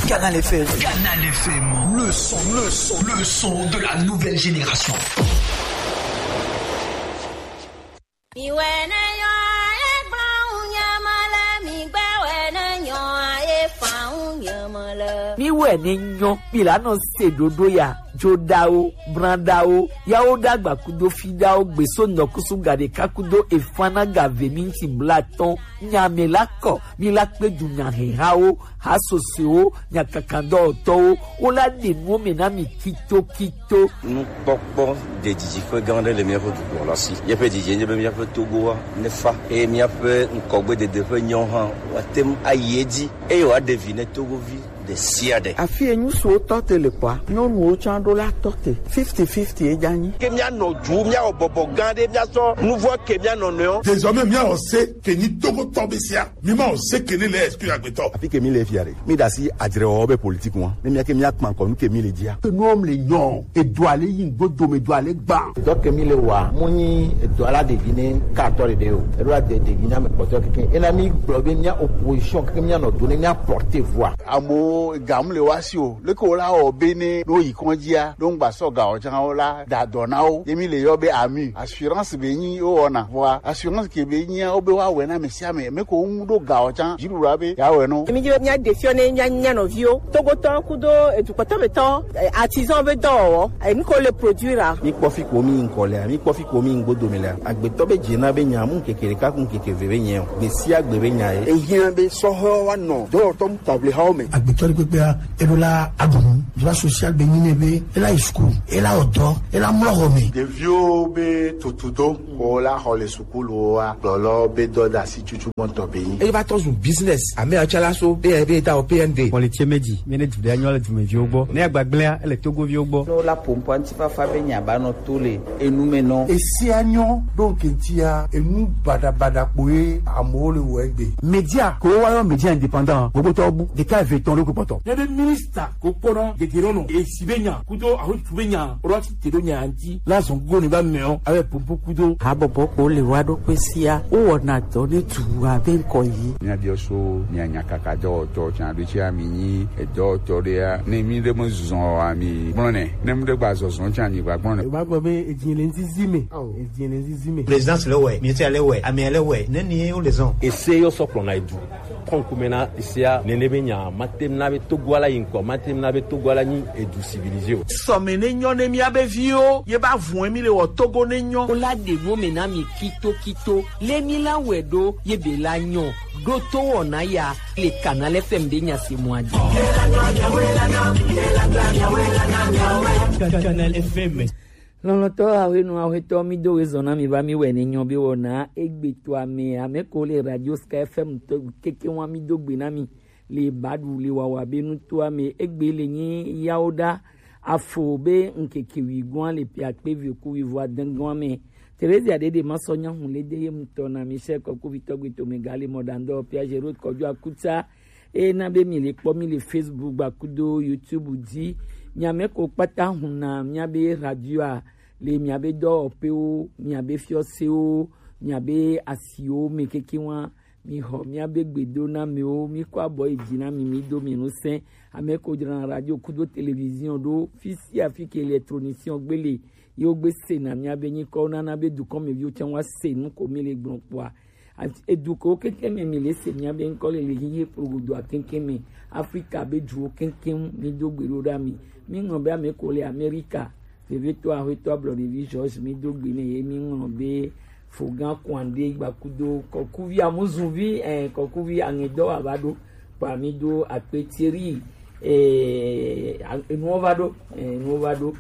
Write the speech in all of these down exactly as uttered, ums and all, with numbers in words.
Canal F M. Canal F M, le son, le son, le son de la nouvelle génération. Miwɛ ne nyɔ ye gblɔ ŋu nye mele, migbɛ wɛ ne nyɔ ye fa ŋu nye mele. Miwɛ ne nyɔ, mi la nɔ se ɖoɖo ya, dzoɖawo, branɖawo, yawo ɖagba kudo fiɖawo, gbeso nɔkusu ga ɖeka kudo efana ga ve minti blatɔn, nya me la kɔ, mi la kpe du nya hehawo, hasosoewo, nyakakadɔwɔtɔwo, wo la ɖe nuwo me na mi kitokito. Nukpɔkpɔ ɖe didiƒe gã aɖe le míaƒe dukplɔla si. Míaƒe didi nye be míaƒe Togoa nefa eye míaƒe ŋgɔgbedede ƒe nyawo hã woate ŋu ayi edzi eye wòaɖe vi ne Togovi ɖe sia ɖe. Afi yi ŋutsuwo tɔ te le kpɔa, nyɔnuwo tsã ɖo la tɔ te. Fifty fifty ye dza nyi. Ke míanɔ du, míawɔ bɔbɔ gã aɖe, míasɔ nuvɔ ke mía nɔnɔewo. Désormais, míawɔ se ke nyi Togotɔ be sia. Mi ma o se ke ne le exclu agbetɔ. Afi ke mi le fia ɖe, mi ɖe asi adzrewɔwɔ be politique ŋua, ne mía ke mía kpa kɔ nu ke mi le dzia. Ke nuwo mi le nyɔ, edo ale yi ŋgbo dome do ale gba. Dɔ ke mi le wa, mu nyi edo ala ɖevi ne ka tɔ ɖeɖe o. Eɖo ade ɖevi na me kpɔtɔ keke. Ena mi gblɔ be mía opposition keke mía nɔ do ne mía porte voix. Amewo ga mu le wa si o. Leke wo la wɔ be ne ɖo yi kɔndzia, ɖo ŋgba sɔ ga o tsã wo la da dɔ na wo. Ye mi le yɔ be ami. Assurance be nyi wo wɔna. Vɔa assurance ke be nyia wo be wa wɛ na me sia me. Me ko ŋu ɖo ga o tsã. Dziɖuɖua be ya wɛ no. Mi dzi be mía ɖe fiɔ ne mía nya nɔviwo. Togotɔ kudo edukpɔtɔ be tɔ, eh, artisan be dɔwɔwɔ. Eh, nu ko le produire a. Mi kpɔ fi ko mi ŋkɔ lea, mi kpɔ fi ko mi ŋgbo dome lea. Agbetɔ be dze na be nya mu ŋkeke ɖeka ku ŋkeke ve be nyɛ o. Gbe sia gbe be nya ye. Ehiã be sɔhɛwo wa nɔ dɔwɔtɔ mu table hawo me. Agbetɔ ɖe kpekpea, eɖo la aɖu nu. Droit social be nyi nɛ be ela yi school, ela wɔ dɔ, ela mlɔ xɔ me. Ɖeviwo be tutudo ko la xɔ le sukuluwoa, kplɔlɔ be dɔdeasi tutu mɔtɔ be nyi. Eye va tɔ zu business. Ame atsala so be be ta o P N D. Kpɔle tse meji, mi ne du ɖe anyɔ le dumeviwo gbɔ. Ne agbagblẽa, ele togoviwo gbɔ. Ne wola ƒo ŋkɔ ŋutifafa be nya ba nɔ to le enu me nɔ. Esia nyɔ ɖo ŋke ŋutia, enu baɖabaɖa kpoe amewo le wɔ egbe. Media ko wa yɔ media indépendant, gbogbo tɔ bu, ɖeka eve etɔ̃ ɖo kpɔtɔ. Ne be minista ko kpɔna gegero nɔ, esi be nya, kudo aho tu be nya, ro ti te ɖo nya ŋuti, la zɔn go ne ba mɛɔ, abe popo kudo. Habɔbɔ ko le wa ɖo kpe sia, wo wɔna dɔ ne tu abe ŋkɔ yi. Mía biɔ so, mía nya kaka dɔwɔtɔ, tsan ɖo tsi ami nyi, edɔwɔtɔ ɖea, ne mi ɖe me zɔn o, ami gblɔ nɛ, ne mi ɖe gba zɔzɔ tsi ami gba gblɔ nɛ. Eba gblɔ be edzi le ŋzizi me, edzi le ŋzizi me. Présidence le wɛ, ministère le wɛ, amea le wɛ, ne ni ye wo le zɔn. Ese yɔ sɔ kplɔ na edu. Kɔnkume na sia nene be nya, mate na be Togo ala yi ŋkɔ, mate na be Togo ala nyi edu civilisé o. Sɔme ne nyɔ ne mía be viwo, ye ba vun mi le wɔ Togo ne nyɔ. Wo la ɖe nu me na mi kito kito, le mi la wɛ ɖo, ye be la nyɔ, ɖo to wɔna ya, le Canal F M be nya se mɔ adi. Canal F M. Lɔlɔtɔ ahwenu ahwetɔ mi do wezɔn na mi va mi wɛ ne nyɔ be wɔna egbe to ame, ame ko le Radio Sky F M to keke wa mi do gbe na mi le baɖu le wawa be nutoa me egbe le nyi yawo ɖa afo be ŋkeke wi gɔa le pia kpe vi ku wi vɔ adengɔa me. Teresia ɖeɖe ma sɔ nyahu le de ye mutɔ na mi se kɔku vitɔ gbe to me ga le mɔ ɖandɔ pia Gerot kɔjo akuta. Eye na be mi le kpɔ mi le Facebook gba kudo YouTube dzi. Mia me ko kpata huna mia be radioa le mia be dɔwɔƒewo, mia be fiɔsewo, mia be asiwo me keke wa. Mi xɔ mia be gbedonamewo, mi kɔ abɔ yi dzi na mi, mi do mi ŋusẽ. Ame ko dzrana radio kudo télévision ɖo, fi sia fi ke électronicien gbe le, ye wo gbe sena mia be nyikɔwo nana be dukɔmeviwo tsã wa se nu ko mi le gblɔ kpɔa. Ati-, edu kewo keŋkeŋ me mi le se mia be ŋkɔ le, le hihi kplogodoa keŋkeŋ me, Afrika be duwo keŋkeŋ, mi do gbe ɖo ɖa mi. Mi ŋlɔ be ame ko le Amerika, vevetɔ axwetɔ ablɔɖevi George, mi do gbe ne ye, mi ŋlɔ be Fogan Kwande gbakudo kɔkuvi amuzuvi, eh, kɔkuvi aŋedɔ ava ɖo. Kpa mi do akpe Thierry, eh, a-, enuwo va ɖo, eh, enuwo va ɖo.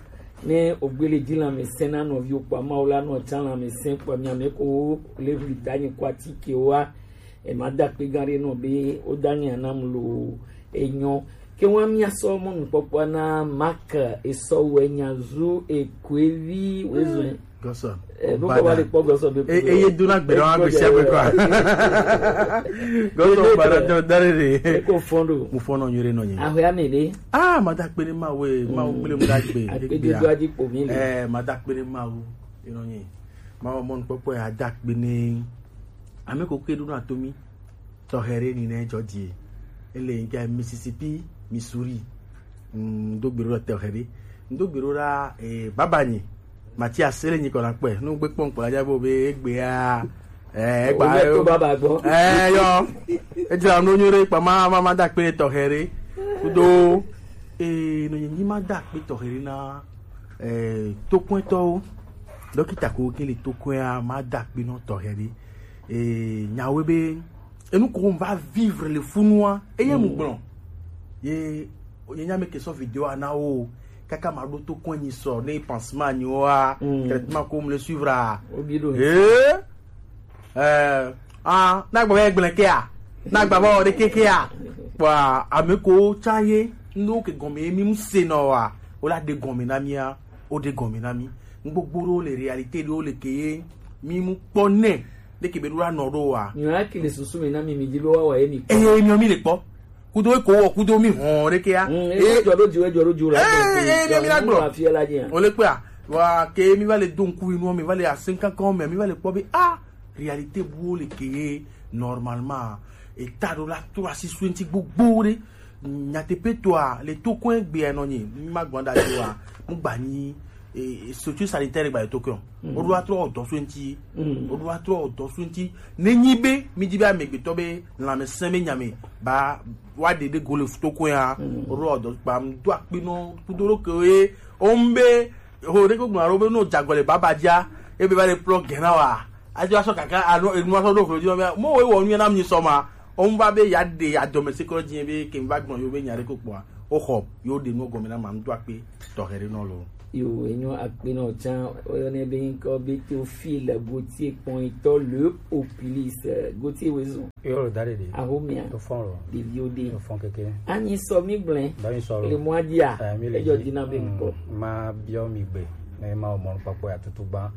Ne ogbele di lãmesẽ na nɔviwo kpɔa, Mawu la nɔ tsã lãmesẽ kpɔa, mia me ko le ʋli danyi ko atikewoa, e ma da akpe gã ɖe nɔ be wo danyi anam lo enyɔ. Ke wa mia sɔ mɔnukpɔkpɔa na Mark esɔ wɛ nya zu ekoevi wezɔe. Gɔsɔ. Eh, ɖo kɔ va le kpɔ gɔsɔ be. E, eye dona gbe ɖe wa gbe sia gbe kɔa. Gɔsɔ ba ɖe tɔ da ɖe ɖe. Eko fɔn ɖo. Mo fɔn nɔ nyuie ɖe nɔ nyi. Ahwe ame ɖe. Ah, mada kpe ne Mawu, Mawu kple mu da gbe. Akpe dodo adi kpo mi le. Eh, mada kpe ne Mawu, enɔ nyi. Mawu mɔnukpɔkpɔ ya da kpe ne. Ame ko ke ɖo na to mi. Tɔxɛ ɖe ni ne dzɔ die. Ele nke Mississippi. Missouri. Mm, do gbe ɖo ɖa tɔxɛ ɖe. Do gbe ɖo ɖa, eh, baba nyi. Mathias, ele nyi kɔ na kpɔe. Nu gbe kpɔn kpɔ la dza bo be egbea, eh, egba Obe to baba gbɔ. Eh, yɔ. Edzra nu nyo ɖe kpa ma, ma, ma da kpe tɔxɛ ɖe. Kudo, eh, no nyi ma da kpe tɔxɛ ɖe na, eh, tokɔntɔwo. Dɔkita ko ke le tokɔa ma da kpe nɔ tɔxɛ ɖe. Eh, nyawo be, enu ko va vivre le funua, eye mu gblɔ. Ye, ye nya me ke sɔ vidéo a na wo, kaka ma ɖo to kɔn nyi sɔ, ne pansement nyi wa, traitement ko mu le suivre a. Obi ɖo. Eh, eh, ah, na gba be gblẽ ke a, na gba be o de ke ke a. Wa, ame ko tsa ye, ndo ke gɔme mi mu se nɔ wa, o la de gɔme na mi a, o de gɔme na mi. N gbogbo ɖo le réalité ɖo le ke ye, mi mu kpɔ nɛ, de ke be ɖo la nɔ ɖo wa. Nyɔ ya ke le susu me na mi, mi di be wa wa ye mi kpɔ. Eye mi mi le kpɔ. Kudo ko wɔ, kudo mi hɔn ɖe ke ya. Mm, e jɔ ɖo ju, e jɔ ɖo ju la. Eh, eh, mi la gblɔ. Afia la dzi. O le kpea, wa ke mi va le do ŋku inu, mi va le asinkankan me, mi va le kpɔ be, ah, réalité bu le ke ye normalement. E ta ɖo la to asi suenti gbogbo ɖe. Nyateƒetɔa, le to kɔe gbea nɔ nyi, mi ma gbɔn da jo wa. Mu gba nyi, eh, structure sanitaire gba le to kɔe. O ɖo atrɔ dɔ suenti. O ɖo atrɔ dɔ suenti. Ne nyi be, mi di be amegbetɔ be, lãmesẽ be nyame, ba, wa de de go le to kɔe ya. O ɖo dɔ kpa, m do akpe nɔ, kudo ɖo ke ye, o m be, ho ɖe ko gblɔ ɖo be no jagɔ le baba dza, ebe va le plɔ gɛna wa. Ajo asɔ kaka, anu, enu asɔ ɖo flo dzi, mo we wɔ nu na mi sɔ ma. O m va be ya de ya dɔme se kɔ dzi be ke m va gbɔn yo be nya ɖe ko kpɔa. O xɔ, yo de nu gɔme na ma, m do akpe tɔxɛ ɖe nɔ lo. Yo, enyo akpe nɔ tsã, oyɔ ne be ŋkɔ be Théophile Gauthier kpɔnyitɔ le Opilis, Gauthier Wezon. Yo, lo da ɖe ɖe. Ahomia. To fɔn lo. Ɖeviwo ɖe. To fɔn keke. Anyi sɔ mi gblẽ. Dɔ nyi sɔ lo. Le mɔa dzia. Eh, mi le ejɔ dzi. Dina be ŋkɔ. Mm, ma biɔ mi gbe. Ne ma o mɔnukpɔkpɔ ya tutu gba.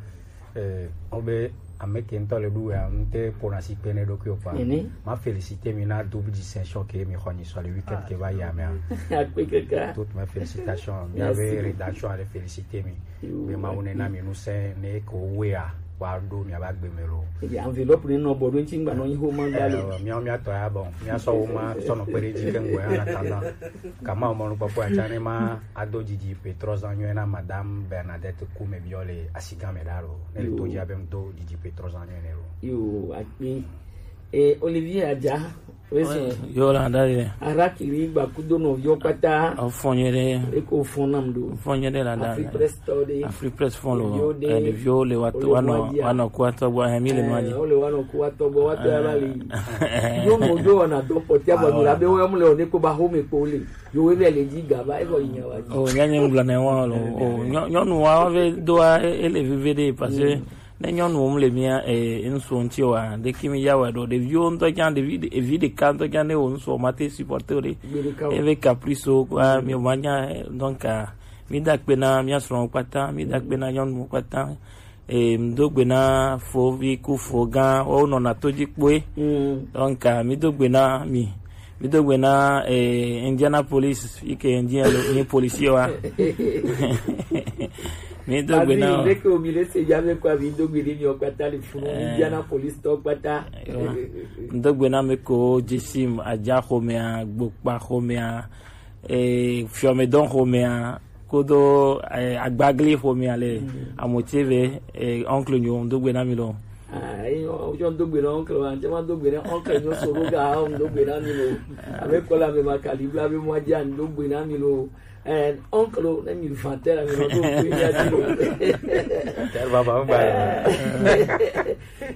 Eh, o be ame ke ŋutɔ le ɖu ya, ŋute ƒona si kpe ne ɖokui o kpa. Nene. Ma féliciter mi na double distinction ke mi xɔ nyi sɔ le week-end ke va yi amea. Akpe kaka. Toutes mes félicitations. Merci. Miabe rédaction ale féliciter mi. Yo, be Mawu ne na mi ŋusẽ ne ko wea, wa ɖo miabe agbe me lo. Ebi enveloppe ne nɔ bɔ ɖo ŋuti ŋgba nɔ nyi xoma gba le. Eh, miawo miatɔ ya, bon, miasɔ wo ma sɔ nɔ kpe ɖe dzi ke ŋgɔ ya na ta na. Kama o mɔnukpɔkpɔ ya tsã ne ma ado didi pe trɔ zan nyuie na Madame Bernadette Kume biɔ le asigan me ɖa lo. Ne le to dzi abe ŋdo didi pe trɔ zan nyuie ne lo. Yo, akpe. Eh, Olivier Adja, oui, c'est. Yo, la, da ye. Arakiri gba kudo nɔviwo kpata. O fɔn nyuie ɖe. Eko fɔn nam ɖo. O fɔn nyuie ɖe la da. Afrique Presse tɔ ɖe. Afrique Presse fɔn lo. Ɖeviwo ɖe. Eh, ɖeviwo le wa to, wa nɔ, wa nɔ ku atɔ gbɔ, eh, mi le nua dzi. Eh, o le wa nɔ ku atɔ gbɔ, wa to ya la li. Yo mo do wa na do pɔtia ba mi la be wo ya mu le o ne ko ba ho me ko le. Yo we be le dzi ga ba e ko nya wa dzi. O nya nye ngblɔ ne wa lo. O nyɔ-, nyɔnu wa ve do a e, e le vive ɖe parce que Ne nyɔnuwo mu le mía, eh, ŋsuwo ŋuti oa, ɖeki mi ya wɛ ɖo. Ɖeviwo ŋutɔ nya, ɖevi, evi ɖeka ŋutɔ nya ne wo ŋsuwo ma te supporter o ɖe. Gbeɖeka o. Eve caprice o, kua, mi o ma nya, eh, donc, ah, mi da akpe na mía srɔ̃wo kpata, mi da akpe na nyɔnuwo kpata. Eh, mi do gbe na fovi ku fo gã, wo nɔna to dzi kpoe. Mm. Donc, ah, mi do gbe na mi. Mi do gbe na, eh, Indianapolis, yi ke Indiana, ni polisi wa. Mi do gbe na. Leke o mi le se ya me kwa mi do gbe ni mi o kpata le funu, eh, Indianapolis to kpata. Yo. Mi do gbe na me ko Jisim, Adja xomea, Gbokpa xomea, eh, Fiɔmedɔn xomea, kodo, eh, Agbagli xomea le, mm, Amotseve, eh, oncle nyo, mi do gbe na mi lo. Ah, eyi o, o do gbe na oncle wa, nje ma do gbe na oncle nyo soro ga, o do gbe na mi lo. Abe kola me ma kalibla be mo aja do gbe na mi lo. Eh, oncle, ne mi vanter la mi lo do gbe na mi lo. Tel va ba ba.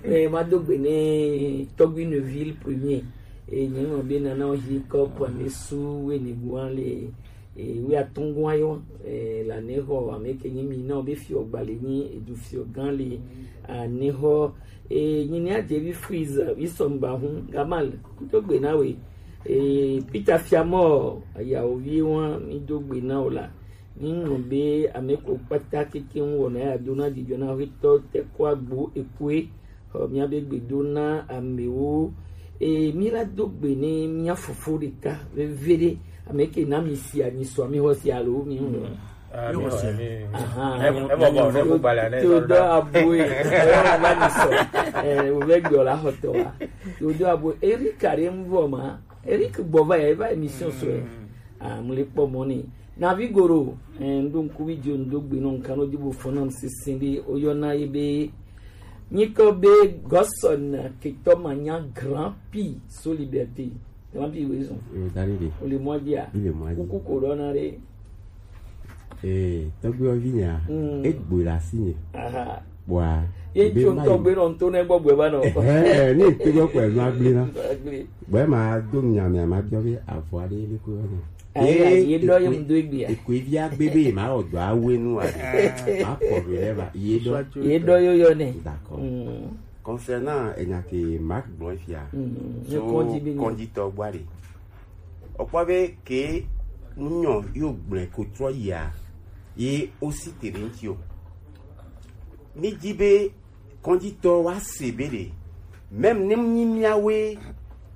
Eh, ma do gbe ne Togui Neuville premier. E nye mo be nana o hi ko po ne su we ni guan le. E, wi atɔngɔn ayɔ, e, la ne xɔ ame ke nyi mi na o be fiɔ gba le nyi edu fiɔ gan le, a, ne xɔ, e, nyi ne adze bi Freeze, bi sɔmba hun, Gamal, kudo gbe na we, e, Peter Fiamɔ, ayawo vi wa, mi do gbe na o la, mi ŋlɔ be ame ko kpata keke ŋu wɔna ya do na dzidzɔ na xetɔ te ko agbo ekue, Xɔ míabe gbedo na amewo. Eye míla do gbe ne mía fofo ɖeka veviɖe, ame ke na mi si anyi sɔ, mi xɔ si alo mi ŋu. Ah, mi xɔ si. Aha. E, e bɔbɔ, ne ko balɛ, ne Theodore Aboe, e, na mi sɔ. E, o vɛ gbɔ la xɔtɔ wa. Theodore Aboe, Eric are ŋu vɔ ma. Eric gbɔ va ya, eva émission sɔ. Ah, mu le kpɔ mɔ ni. Navi Goro, eh, ŋɖo ŋkuvi dzi o, ŋɖo gbe nɔ ŋkan nɔ dzi bo fɔn nam sisi ɖe, oyɔna ye be, nyikɔ be Gɔsɔn ketɔ ma nya Grand P so Liberté. Grand P we zɔn. Eh, dali de. O le mɔ dia. Il est moisi. Kuku ko ɖɔ na ɖe. Eh, tɔgbe ovi nya. Mm. E gbe la si nye. Aha. Bua. Ye be tso ma tɔgbe nɔ ŋto ne gbɔ gbe ba nɔ. Eh, ne te gbɔ kɔ e ma gble na. Agble. Bɔ ema do nya mea ma biɔ be avɔ aɖe le ko yɔna. Ayi, ye dɔ ye mu do egbea. Eko evi agbe be ma wɔ dɔ awe nu a. Ma kɔ do le ba ye dɔ. Ye dɔ yo yɔ ne. D'accord. Mm. Concernant enya ke Marc gblɔ fia. Mm. So kɔnditɔ gbɔ ɖe. Okpɔ be ke nunyɔ yo gblɔ ko trɔ yia. Ye o si te ɖe ŋti o. Mi di be kɔnditɔ wa se be ɖe, même ne nyi miawoe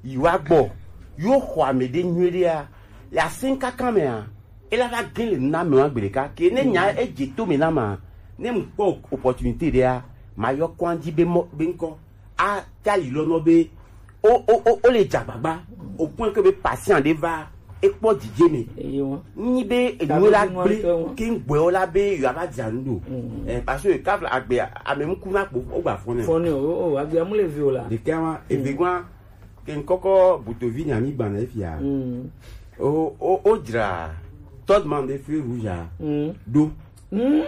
yi wa gbɔ, yo xɔ ame ɖe nyuie ɖea, le asin kaka mea, e la va gin le na me wa gbe ɖeka. Ke ne nya e dze to me na ma, ne mu kpɔ opportunité ɖea, ma yɔ kɔndi be mɔ, be ŋkɔ. A ta yi lɔ nɔ be, o, o, o, o le dza gbagba, o point que be patient ɖe va, e kpɔ dzidze me. Eyo. Nyi be enyo la gble, ke ŋgbɔɛ wo la be yo ava dza nu ɖo. Mm. Eh, parce que kafla agbe, ame ŋku na kpo, o gba fɔne. Fɔne o, o, agbe amu le vi o la. Ɖeka wa, eve gwa, ke ŋkɔkɔ butovi nya mi gba na efia. Mm. O, o, o dzra, third man de feu rouge a. Mm. Ɖo. Mm.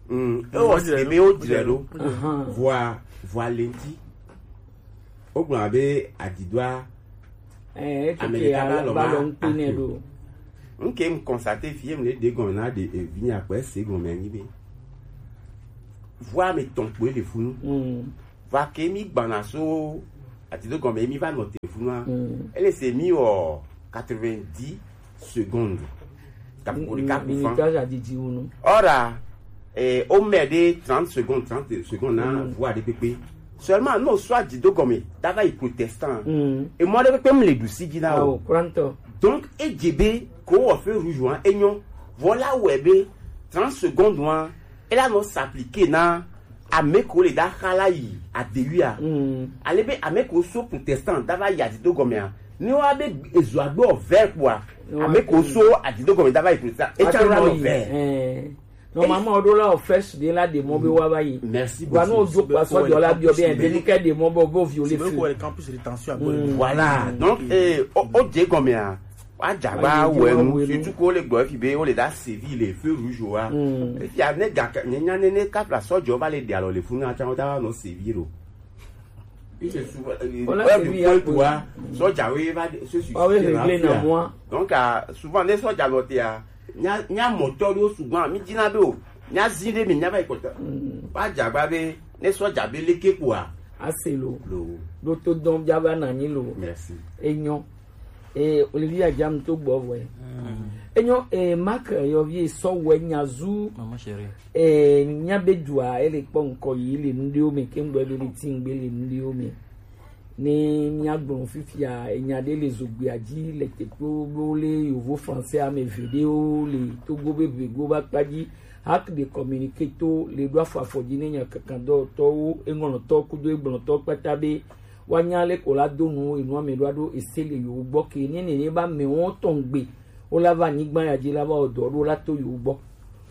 Mm. E wɔ se be o dzra ɖo. Ahan. Vɔa, vɔa le ŋti. Wogblɔ be adidoa, eh, ame ɖeka va lɔ va ŋkpe nɛ ɖo. Ŋke mu constaté fie mu le ɖe gɔme na ɖe, eh, vinya kpɛ se gɔme anyi be. Vɔa ame tɔn kpoe le funu. Mm. Va ke mi gbana so adido gɔme mi va nɔ te funua. Mm. Ele se mi wɔ quatre-vingt-dix secondes. Kapo ɖeka ku fan. Minute adidi wonu. Ora, eh, o mɛ de trente secondes, trente secondes na, mm, voix ɖe kpekpe. Seulement, no soit dzi do gɔme, dava yi protestant. Mm. E mɔ ɖe kpekpe mu le ɖusi dzi na o. Awo, kurantɔ. Donc, e dze be, ko wɔ feu rouge wa, e nyɔ. Voilà, wɛ be, trente secondes wa, e la nɔ s'appliquer na ame ko le da xa la yi adewi a. Mm. Ale be ame ko so protestant dava yi adido gɔme a. Ni wa be ezo agbe o vert kpoa. Ame ko so adido gɔme dava yi protestant. E tsa la nɔ vert. Eh. Normalement, o do la o first de la de mɔ be wa va yi. Merci beaucoup. Wa no do pa so do la bi o be de ni ke de mɔ bo bo violé feu. Voilà. Donc, eh, o, o dze gɔme a. Wa dza gba wɛ nu, surtout ko le gbɔ fi be o le da sevi le feu rouge wa. Mm. Efi a ne ga nye nya ne ne kafla sɔdzɔ va le de alɔ le funu a tsa o ta wa nɔ sevi ro. Il se souvent, euh, ouais, le point pour wa, sɔdza we va de, se su. Wa we régler na moi. Donc, ah, souvent ne sɔdza lɔ te a, nya, nya mɔtɔ ɖo souvent mi dina be o, nya zi ɖe mi nya va yi kɔta. Mm. Wa dza gba be ne sɔdza be leke kpoa. Ase lo. Lo. Ɖo to dɔn bia va na nyi lo. Merci. Enyo. Eh, Olivia Jam to gbɔ vɔe. Mm. Enyo, eh, Mark, eh, yɔvi sɔ wɛ nyazu. Maman chérie. Eh, nya be dua, ele kpɔ ŋkɔ yi le nuɖewo me, ke ŋgbɔ be le ti ŋgbe le nuɖewo me. Ne mia gblɔ fifia, enya ɖe le zogbia dzi le tekpo bo le yovo français ame eve ɖewo le Togo be vego ba kpa dzi. Hak de communiqué to le ɖo afɔ afɔ dzi ne nya kankan dɔwɔtɔwo, eŋlɔtɔ kudo egblɔtɔ kpata be woanya leke wola do nu enu ame ɖo aɖo ese le yewo gbɔ ke ne nene ba amewo tɔn gbe wola va anyigba ya dzi la va wɔ dɔ ɖo la to yewo gbɔ.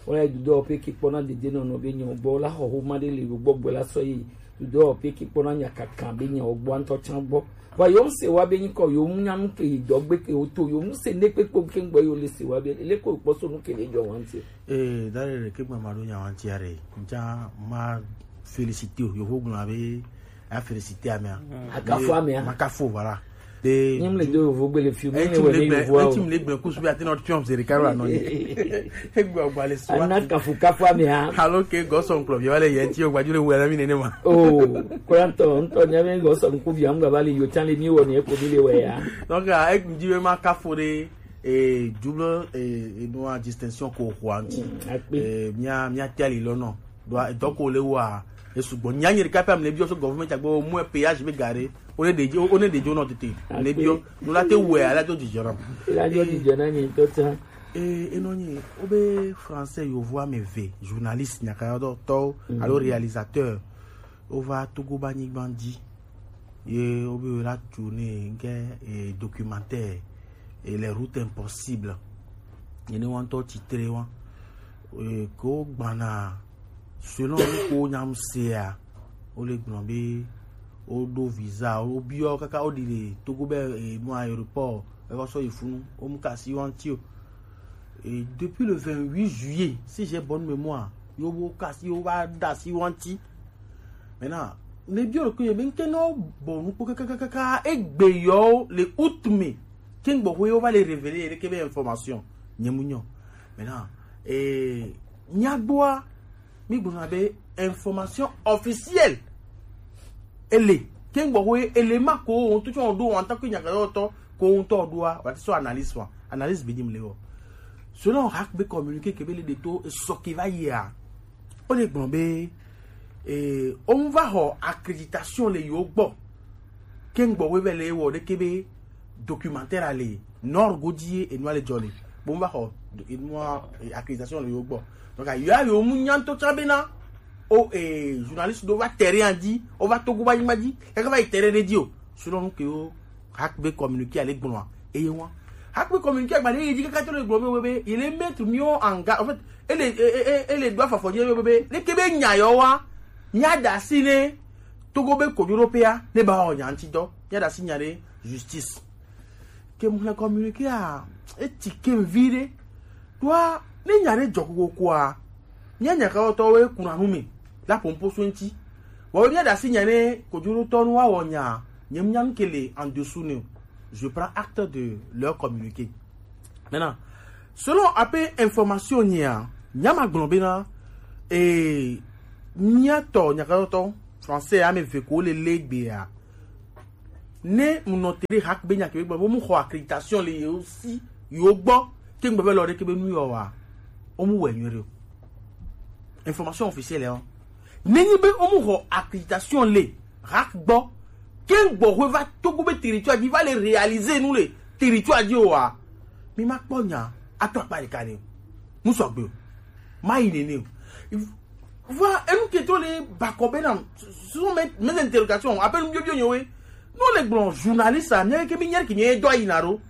Wola yi dudɔ ƒe ke kpɔna dedienɔnɔ be nyawo gbɔ, wola xɔ xoma ɖe le yewo gbɔ gbɔe la sɔ yi dudɔ ƒe ke kpɔna nyakaka be nyawo gbɔ ŋutɔ tsã gbɔ. Vɔ yewo ŋse wa be nyikɔ yewo ŋu nya nu ke yi dɔ gbe ke wo to yewo ŋse ne kpekpe ke ŋgbɔ yewo le se wa be leke wokpɔ so nu ke le dzɔ wa ŋuti. Ee, da ɖe ɖeke gbe maɖo nya wa ŋuti aɖe. Ŋtsa ma félicité o, yovo gblɔ be a félicité amea. Akafu amea. Ma kafu, voilà. De nyim le do yovo gbe le fi mu ne wɛ ne yovo awo. Eti mu le gbe kusu be ati nɔ tiɔm se ɖeka la nɔ ye. Egbe ɔgba le sua. Ana kafu kafu amea. Alo ke gɔsɔ ŋkplɔ bi va le yɛ ti o gbadju le wɛ na mi nene ma. Oh, kurantɔ ŋutɔ nya be gɔsɔ ŋku bi am gaba le yo tsan le mi wɔ ne ko bi le wɛ ya. Donc, ah, e di be ma kafu ɖe, eh, double, eh, eh, no distinction ko xɔ ŋuti. Mm, akpe. Eh, mia, mia te ali lɔ nɔ. Ɖo dɔ ko le wa, e sugbɔ. Nya nyiri kapa mle biɔ so government agbo mu péage be gare. O ne de, o ne de jo no tete. Le biɔ, no la te wɛ ala jo di jɔrɔ. La jo di jɔrɔ ni to ta. Eh, e no ni, o be français yovo ame eve, journaliste nyaka dɔ tɔ, mm, alo réalisateur. O va Togo ba nyigban dzi. Ye o be la tourner nke, eh, documentaire, eh, Les Routes Impossibles. Ene wa ŋutɔ tsitre wa. E, ko gbana selon ko nyam sea, o le gblɔ be o ɖo visa, o biɔ kaka o ɖi le Togo be e nu aéroport e kɔ sɔ yi funu, o mu kasi wa ŋuti o. Et depuis le vingt-huit juillet, si j'ai bonne mémoire, yo bo kasi yo va da si wa ŋuti. Maintenant, ne biɔ ko ye be ŋke no bo nu ko kaka kaka egbe yo le août mai. Ken gbɔ ko yo va le révéler ye ke be information. Nye mu nyo. Maintenant, eh, nyagboa mi gbɔna be information officielle. Ele ken gbɔ ko ele ma ko on to on do en tant que nyaka yo to ko on to do a, wa ti so analyse wa. Analyse bi di mi le wo. Selon hack be communiqué ke be le de to so ke va ye a. O le gbɔn be, eh, on va ho accréditation le yo gbɔ. Ken gbɔ we be le wo de ke be documentaire ale nord godi e no ale jole. Bon, va ho e no accréditation le yo gbɔ. Donc a yo a yo mu nyan to tsa be na o, eh, journaliste do va terrain a di, o va Togo ba nyima di, e ka va terrain de di o. Selon nous que o hack be communiqué ale gbɔn a. E ye wa. Hack be communiqué agba de ye di kaka to le gbɔn be be, il est mettre mieux en garde. En fait, ele, ele, ele doit fa fo di be be, le ke be nya yo wa. Nya da si ne Togo be ko Europe a, ne ba o nya ŋuti dɔ. Nya da si nya de justice. Ke mu le communiqué a, e ti ke vi de. Toi, ne nya de jɔ ko ko a. Nya nya ka to we kuna nu mi. La pompo so ŋuti. Wa we nya da si nya ne ko juro to nu wa wo nya. Nye mu nya nu ke le en dessous ne. Je prends acte de leur communiqué. Maintenant, selon ape information nya, nya ma gbɔn be na, eh, nya to, nya ka to, français a me ve ko le le gbe a. Ne mu nɔ te ɖe hack be nya ke be gbɔ, bo mu xɔ accréditation le yewo si, yewo gbɔ, ke ŋgbe be lɔ ɖe ke be nu yɔ wa, o mu wɛ nyuie ɖe o. Information officielle o. Ne nyi be o mu xɔ accréditation le hack gbɔ, ke ŋgbɔ hwe va Togo be territoire dzi va le réaliser nu le territoire dzi o wa, mi ma kpɔ nya ato akpa ɖeka ne o. Nu sɔgbe o. Ma yi nene o. Voilà, et nous qui étions les Bakobena, ce sont mes, mes interrogations. Appelle nous Bio Bio. Non, les blancs journalistes, ça, mais que mi nyɛ ki mi do ayina ro.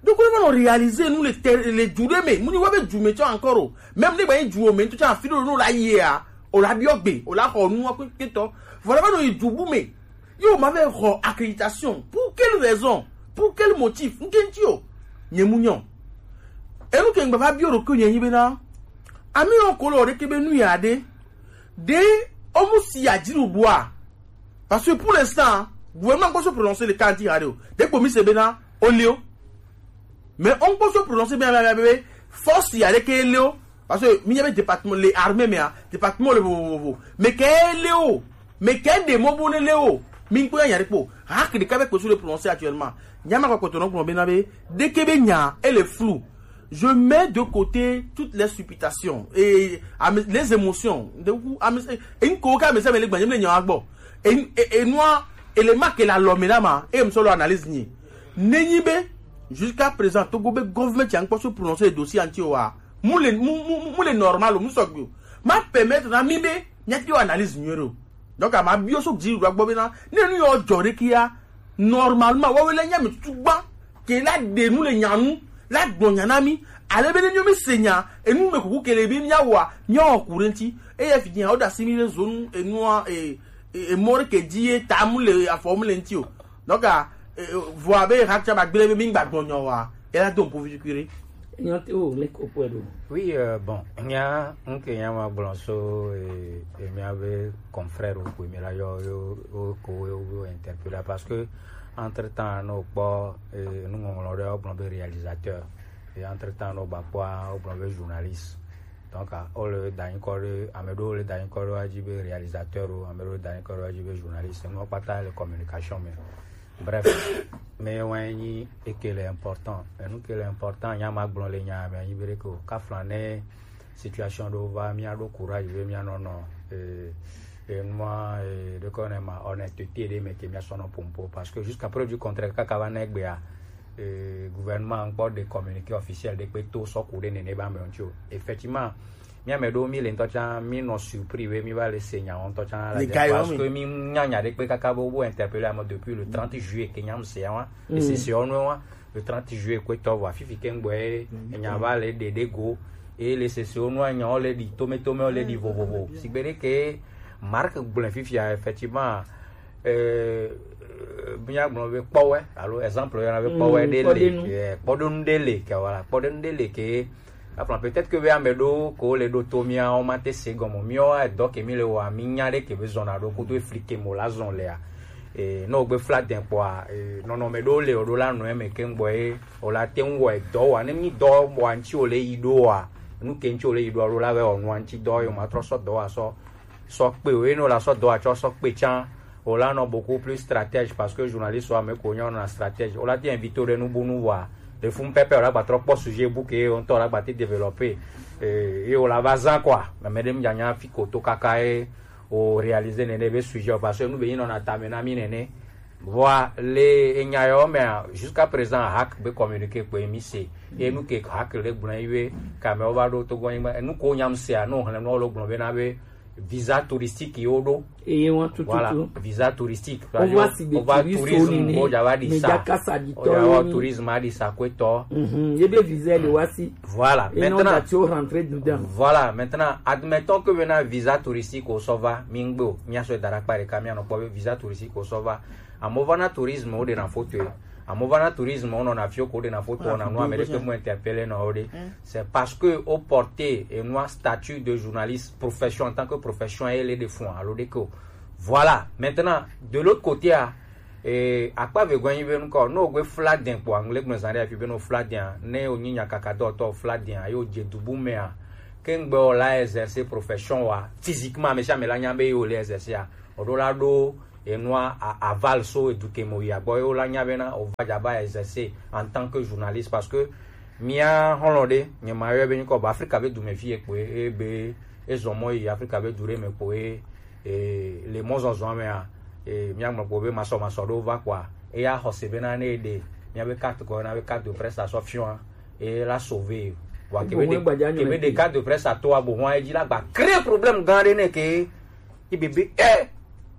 Donc, on va réaliser, nous, les ter-, les Djoudé, mais, nous, on va Djou, mais encore, oh. Même les Baye Djou, mais tout ça, filo, nous, la, hier, on l'a biogbe, on l'a, nous, on a, voilà, nous, les Djoubou, mais, yo, m'avait, oh, accréditation. Pour quelle raison? Pour quel motif? Nous, qu'est-ce que, Nyemunyo. Et nous, qu'est-ce que va bio, que, Nyemunyo, ami, on, colore, que, ben, nous, y a des, de, on, si, y a, dit, ou bois. Parce que pour l'instant, gouvernement peut se prononcer le cas dit, allez, dès que mi se bena, on lio. Mais on peut se prononcer bien, bien, bien, bien, force, il y a des que lio. Parce que, mi y avait département, les armées, mais, hein, département, le, vo, vo, vo. Mais que lio, mais que des mots, bon, lio. Mi, quoi, y a des pots. Rak, des cabets, que sur le prononcer actuellement. Nyama, quoi, quand on a, dès que bena, elle est floue. Je mets de côté toutes les supputations et, à mes, les émotions. De coup, à mes, et une coca, mais ça, mais les gagner, mais il y a un bon. Et, et, et moi, et les marques, et la l'homme, là, ma, et me solo analyse, ni. Nenyi be, jusqu'à présent, Togo be government, y a encore se prononcer le dossier entier, wa. Moule, mou, mou, mou, moule normal, mou sogbe. Ma permettre, na, mi be, n'y a que analyse, ni, ro. Donc, à ma bio, so, que j'ai eu, la, bon, maintenant, ne, nous, on, j'aurais qu'il y a, normalement, wa, wa, la, n'y a, mais tout, ba, ke la de nous, les, nyanou, la, bon, nyanami, allez, ben, nous, mais, seigneur, et nous, mais, coucou, que les, bien, wa, n'y a, au courant, ti, et, il y a fini, on, da, simi, les zones, et nous, et, et, et, mort, que dit, et, tamoule, et, à formuler, ti, oh. Donc, ah, eh, vɔ abe hacha ba gblẽ be mi gba gbɔ nyɔ wa, ela do ŋku vi kuri. Nyɔ te o le ko kpɔe ɖo. Oui, euh, bon, nya, nke nya ma gblɔ so, eh, eh, mia be confrère wo ko mi la yɔ, yo, wo ko wo, wo interpeller parce que entre temps, no kpɔ, eh, nuŋɔŋlɔ ɖe, wo gblɔ be réalisateur. Et entre temps, no ba kpɔa, wo gblɔ be journaliste. Donc, ah, wo le da nyikɔ ɖe, ame ɖewo le da nyikɔ ɖe wa dzi be réalisateur o, ame ɖewo le da nyikɔ ɖe wa dzi be journaliste. Nuwo kpata le communication me. Bref, mais ouais, ni, et que le important. Et nous, que le important, nya ma gblɔ le nya, mais ni bere ko, ka flan ne situation ɖewo va, mia ɖo courage, be mia nɔ nɔ, eh, et moi, eh, de connaître ma honnêteté, de me que mia sɔnɔ pompo. Parce que jusqu'à preuve du contraire, kaka va ne gbea, eh, gouvernement encore de communiqué officiel de kpe to sɔ ku ɖe nene ba me ŋuti o. Effectivement, mi ame ɖewo mi le ŋutɔ tsã, mi nɔ surpris be mi va le se nyawo ŋutɔ tsã la. Parce que mi nya nya ɖe kpe kaka be wo interpeller ame depuis le trente juillet ke nya se wa. Et c'est, c'est on wa. Le trente juillet kpetɔ vɔ fifi kengbe enya va le ɖe ɖe go. Et les sessions no enya wo le ɖi tome tome wo le ɖi vovovo. Sigbe ɖe ke Marc gblẽ fifia, effectivement, euh, míagblɔ be kpɔwɛ alo exemple yɔna be kpɔwɛ ɖe le, eh, kpɔɖenu ɖe le ke, voilà, kpɔɖenu ɖe le ke. Aplan peut-être que be ame ɖo ko le ɖo to mía wo ma te se gɔme mía wa dɔ ke mi le wa mi nya ɖe ke be zɔna ɖo kudo efli ke mo la zɔn lea. E no gbe fla den kpɔa, e nɔnɔme ɖo le o ɖo la nɔ eme ke ŋgbɔ ye o la te ŋ wɔ edɔ wa ne mi dɔ wa ŋtsi o le yi ɖo wa, nu ke ŋtsi o le yi ɖo wa ɖo la vɛ wɔ nua ŋtsi dɔ yo ma trɔ sɔ dɔ wa sɔ sɔ kpe o, eno la sɔ dɔ atsɔ sɔ kpe tsã. O la nɔ beaucoup plus stratège parce que journaliste wa me ko nyɔ na stratège. O la te invité ɖe nu bu nu wa. Le fun pɛpɛ o la gba trɔ kpɔ sujet bu ke o ŋtɔ o la gba te développer. Eh, ye o la va zã quoi. Mais me ɖe mi nya fi ko to kaka ye o réaliser nene be sujet o parce que nu be yi nɔ na tame na mi nene. Vɔa le enya yɔ mea jusqu'à présent hack be communiqué kpe mi se. Ye nu ke hack le gblɔ yi be kame o va ɖo to gɔnyi me. Nu ko nyam se a no hlem no lo gblɔ be na be visa touristique yo ɖo. Eye wọn tututu. Voilà, visa touristique. O va si de tourisme o ja va di sa. O ja va tourisme a di sa kwe tɔ. Mhm, ebe visa de wa si. Voilà. Et non maintenant, tu rentres dedans. Voilà, maintenant admettons que maintenant visa touristique o sɔ va mi ŋgbe o. Mi a sɔ dara kpa ɖeka mi a nɔ kpɔ be visa touristique o sɔ va. Amo va na tourisme o de na photo. Amo va na tourisme o nɔ na fio ko de na photo na nu ame de ke mo interpeller na o de. C'est parce que o porter et noir statut de journaliste profession en tant que profession et les de fond alo de ko. Voilà. Maintenant, de l'autre côté a, eh, akpa ve gwen be nko no gbe fla den po anglais gbe zan de afi be no fla den a, ne o nyi nya kaka do to fla den a yo je dubu me a. Ke ŋgbe o la exercer profession wa physiquement me sha me la nya be yo le exercer a. O do la do enua a- aval so eduke mo ya gbɔ ye wo la nya bena o va dza va exercer en tant que journaliste parce que mia hɔlɔ ɖe nye ma yɔ be nyikɔ ba Afrika be dume fi ye kpoe e be ezɔ mɔ yi Afrika be du ɖe me kpoe e le mɔzɔzɔ mea e mia ŋlɔ kpo be masɔ masɔ ɖo va kpoa eya xɔ se bena ne ɖe mia be carte kɔ na be carte de presse asɔ fiɔa e la sauver wa kebe de kebe de carte de presse ato abo hɔn edzi la gba créer problème gã ɖe ne ke Ibe be e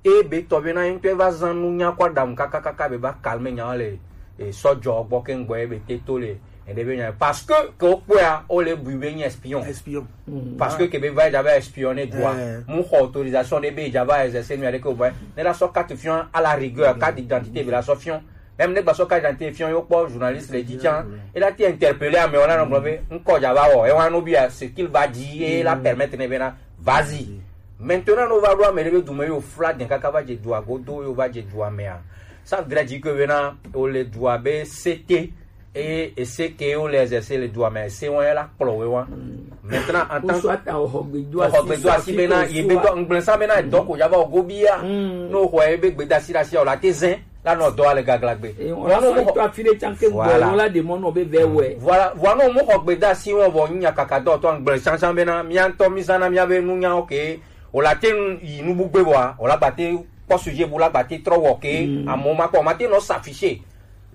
e be tɔ be na ŋutɔ va zan nu nya kɔ adam kaka kaka be va calme nya le e sɔjɔ gbɔ ke ŋgbɔ e be te to le e de be nya parce que ke o kpɔa o le bu be nye espion espion parce que ke be va ja va espionner droit mu xɔ autorisation de be ja va exercer nu ya de ke o ba ne la sɔ carte fion à la rigueur carte d'identité be la sɔ fion Même ne gba sɔ carte d'identité fion yo kpɔ journaliste le dzi tsã. Et là tu interpellé à me on a non blabé. Encore ja va wo. Et on a oublié ce qu'il va dire et la permettre ne bena. Vas-y. Maintenant no va do ame be du me yo fla den kaka va je du agodo yo va je du ame a. Ça voudrait dire que bena o le du abe C T et et ce que o le exercer le du ame c'est on la kplo we wa. Maintenant en tant que soit au hogbe du asi bena ye be do ngblesa bena donc o ja va o gobia. No ho e be gbe dasi dasi o la te zen. La nɔ dɔ ale gagla gbe. Wọn sɔ to afi ɖe tsan ke gbɔ wọn la de mɔ nɔ be vɛ wɛ. Voilà, voilà no mo xɔ gbe da si wọn vɔ nya kaka dɔ tɔ ngble sansan be na mia ŋtɔ mi zana mia be nu nya oke. O la te yi nu bu gbe bɔa o la gba te kpɔ sujet bu la gba te trɔ wɔ ke amo ma kpɔ ma te nɔ s'afficher.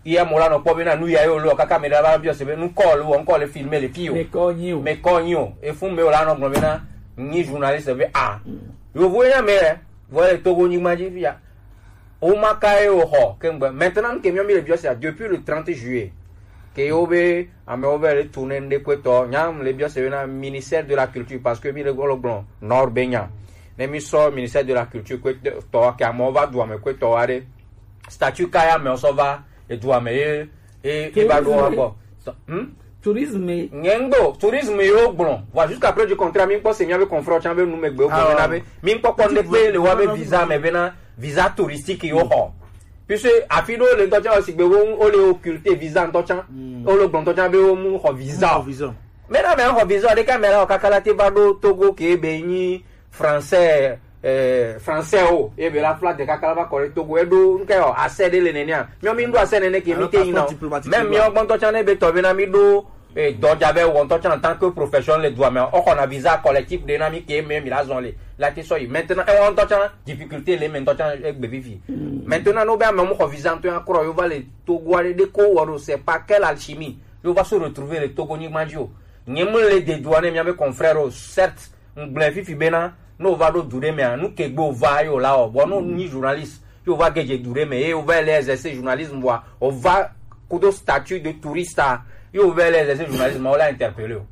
Iya mo la nɔ kpɔ be na nu ya yo lo kaka me da ba biɔ se be nu kɔ lo ŋkɔ le filmer le fi o. Me kɔ nyi o. Me kɔ nyi o. E fun me o la nɔ gblɔ be na nyi journaliste be a. Yovo ya me vɔ le Togo nyigba dzi fi ya. Woma ka ye woxɔ kengbe. Maintenant ke miɔ mi le biɔ sia depuis le trente juillet. Ke yo be amewo be le tourner ŋɖe kpetɔ. Nya mi le biɔ se na ministère de la culture parce que mi le gɔlɔ gblɔ nord be nya. Ne mi sɔ ministère de la culture kpetɔ ke amewo va du ame kpetɔ wa ɖe. Statut ka ya amewo sɔ va edu ame ye e e va ɖo wa gbɔ. Hmm? Tourisme. Nye ŋgbe o, tourisme yewo gblɔ. Vɔ jusqu'à preuve du contraire, mi kpɔ se miabe confrère tsã be nu me gbe wo gblɔ na be mi kpɔkpɔ ŋɖe kpe le wa be visa me be na visa touristique yewo xɔ. Puisque afi ɖewo le ŋutɔ tsã sigbe wo wo le occulter visa ŋutɔ tsã. Wo le gblɔ ŋutɔ tsã be wo mu xɔ visa o. Mena me xɔ visa ɖeka me la o kaka la te va ɖo Togo ke be nyi français eh, français o ebe la fla de kaka la va kɔ ɖe Togo eɖo nke o asɛ ɖe le nenea miɔ mi ŋɖo asɛ nene ke mi te yina o même miɔ gbɔntɔ tsã ne be tɔ be na mi ɖo eh, dɔdza be wɔ ŋutɔ tsã en tant que profession le dua me o xɔna visa collectif ɖe na mi ke me mi la zɔn le la te sɔ yi maintenant ewɔ ŋutɔ tsã difficulté le me ŋutɔ tsã egbe vivi maintenant no be ame mu xɔ visa ŋutɔ ya krɔ yo va le Togo aɖe ɖe ko wɔ ɖo c'est pas quelle alchimie yo va se retrouver le Togo nyigba dzi o nye mu le de dua ne miabe confrère o certes Ŋgblɔe fifi bena, ne wova ɖo du ɖe mea, nu ke gbe wova ye wola wɔ. Vɔ ne wonyi journaliste, ye wova ge dze du ɖe me, ye wova le exercer journalisme vɔa, wova kudo statut de touriste a, yo vɛ lɛ zɛzɛ journaliste ma wo la interpeller o.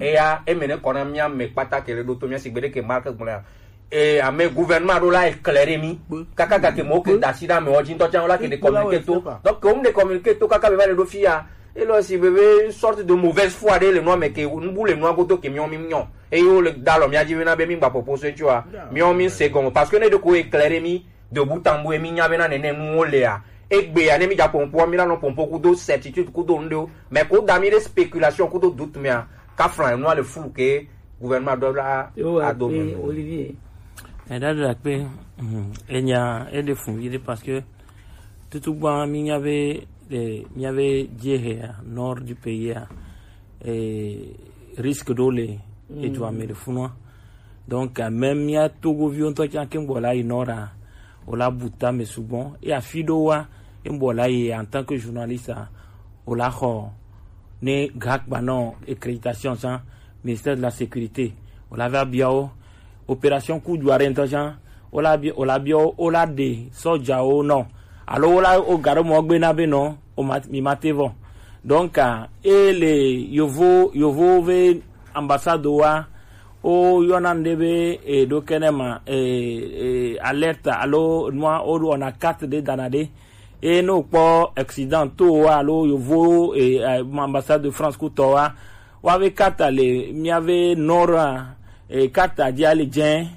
Eya, e mɛ ne kɔna mia mɛ kpata ke le ɖo to mia si gbe ɖe ke marque gblɔ ya. E ame gouvernement ɖo la éclairer mi. Kaka gake mo ke da si ɖe ame wo dzi ŋutɔ tsã wo la ke ɖe communiqué to. Donc ke wo mu ɖe communiqué to kaka be va le ɖo fi ya. E lɔ si be be une sorte de mauvaise foi ɖe le nua me ke nubu le nua godo ke miɔ mi nyɔ. Eye wo le da alɔ mia dzi be na be mi gba popo so etsua. Miɔ mi se gɔme parce que ne ɖe ko éclairer mi de bout en bout ye mi nya be na nene nuwo lea. Egbea ne mi dza pompo mi la nɔ pompo kudo certitude kudo ŋɖewo. Mais ko da mi ɖe spéculation kudo doute mea. Kafla nua le flou ke gouvernement doit la Yo, ado eh, mi. Olivier. Edadra kpe, mhm, enya ede fun vide parce que tutu gba mi nya be, eh, mi nya be dziehe ya, nord du pays ya, eh, risque ɖo le edu ame le funua. Donc, euh, même mia Togo viwo ŋutɔ tsã ke ŋgbɔ la yi nord a, o la bu ta me sugbɔ. Et afi ɖo wa, e ŋgbɔ la yi en tant que journaliste a, o la xɔ ne gakpa nɔ accréditation tsã, ministère de la sécurité, o la va bia wo. Opération Coup du Arrêt ŋutɔ tsã, o la bia, o la bia wo, o la ɖe sɔdzawo nɔ. Alo o la o ga ɖo mɔ gbe na be nɔ, o ma, mi ma te vɔ. Donc, ah, e le yovo, yovo ve ambassade wa, o yɔna ŋɖe be, e, ɖo kɛnɛ ma, e, e, alerte alo nua, o ɖo ɔna carte ɖe dana ɖe. E ne wokpɔ accident to wa alo yovo, e, e, ambassade de France kutɔ wa, wa ve carte le mia ve nord a, e, carte dia le dzẽ.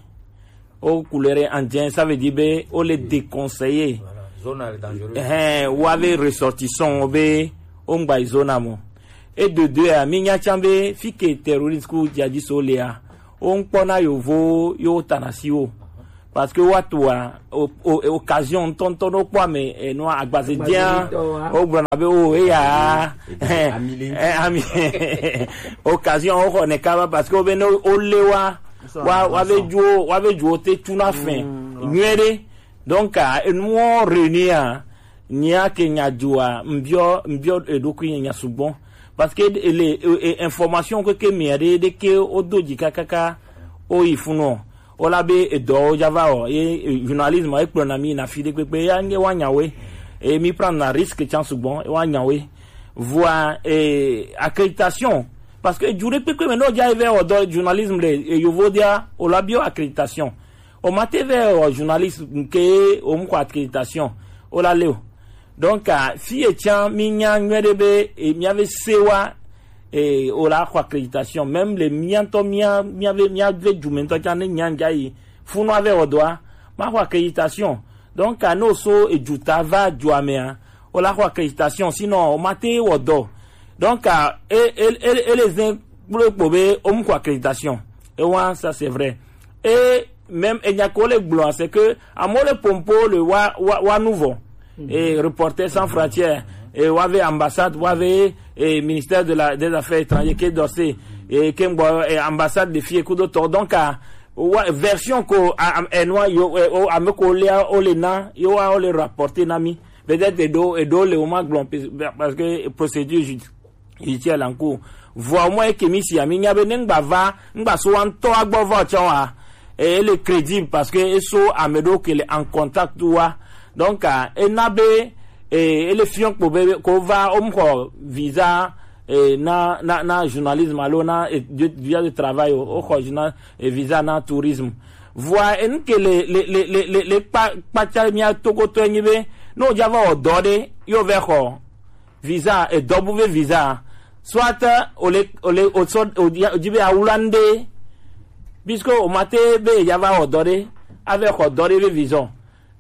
O couleur en dzẽ, ça veut dire be o le déconseiller. Voilà, zone est dangereuse. Hein, wa ve ressortissant be o ŋgba yi zone a mo. Et de deux, ah, mi nya tsã be fi ke terroriste ku djihadiste wo le a, wo ŋkpɔ na yovo yo tana si wo. Parce que wa to a, o, o, occasion ŋutɔ ŋutɔ ɖo kpɔ ame, eh, nua agbaze dia, o gblɔ na be o, eya, eh, ami, occasion wo xɔ ne kaba parce que wo be ne o le wa, wa, wa ve dzuo, wa ve dzuo te tu na fin, nyuie ɖe. Donc, ah, enuwo réunir a, nyea ke nya dzoa, mbiɔ, mbiɔ eɖokui nya sugbɔ. Parce que ele, e, e, information ke, ke mia ɖe, ɖe ke o do dzi kakaka, o yi funɔ. O la be edɔwo dza va o, e, e, journalisme, e kplɔ na mi na fi ɖe kpekpe, ya nye wa nya we. E mi prend na risque tsã sugbɔ, e wa nya we. Vɔa, e, accréditation. Parce que dzu ɖe kpekpe me no dza e vɛ o dɔ journalisme le, e, yovo dia, o la bio accréditation. O ma te vɛ o journaliste ke o mu xɔ accréditation. O la le o. Donc, ah, fi e tsã mi nya nyuie ɖe be, e, mia ve se wa, e, o la xɔ accréditation. Même le mia ŋutɔ mia, mia ve, mia ve dzume ŋutɔ tsã ne nya ŋdza yi. Funua ve o dɔa, ma xɔ accréditation. Donc, ah, ne o so edu ta va dua mea, o la xɔ accréditation. Sinon, o ma te wɔ dɔ. Donc, ah, e, e, e, e le zin kplo kpo be o mu xɔ accréditation. E wa, ça c'est vrai. Et même, et nya ko le gblɔ, c'est que amewo le pompo le wa, wa, wa nu vɔ. Et Reporters sans frontières, et wa ve ambassade, wa ve, et ministère de la, des affaires étrangères, ke dɔ se, et ke ŋgbɔ, et ambassade de fie kudo tɔ. Donc, ah, wa, version ko, a, a, e nua yo, e, o, ame ko le, o le na, yo wa o le rapporter na mi. Peut-être eɖo, eɖo le o ma gblɔ, parce que procédure judi-, judiciaire la en cours. Vɔa mɔ eke mi si ami nya be ne ŋgba va, ŋgba so wa ŋutɔ agbɔ va tsã wa. E, ele crédible parce que e so ame ɖo ke le en contact wa. Donc, ah, e na be, e, ele fiɔ kpo be ko va o mu xɔ visa, e, na, na, na journalisme alo na, e, de, visa de travail o, o xɔ journal, e, visa na tourisme. Vɔa enu ke le, le, le, le, le, le kpa, kpatsa mia tokotɔ enyi be, ne o dza va wɔ dɔ ɖe, yo vɛ xɔ visa, edɔ bu ve visa. Soit o le, o le, o sɔ, o di, o di be awula ŋɖe. Puisque o ma te be ya va wɔ dɔ ɖe, a vɛ xɔ dɔ ɖe ve visa.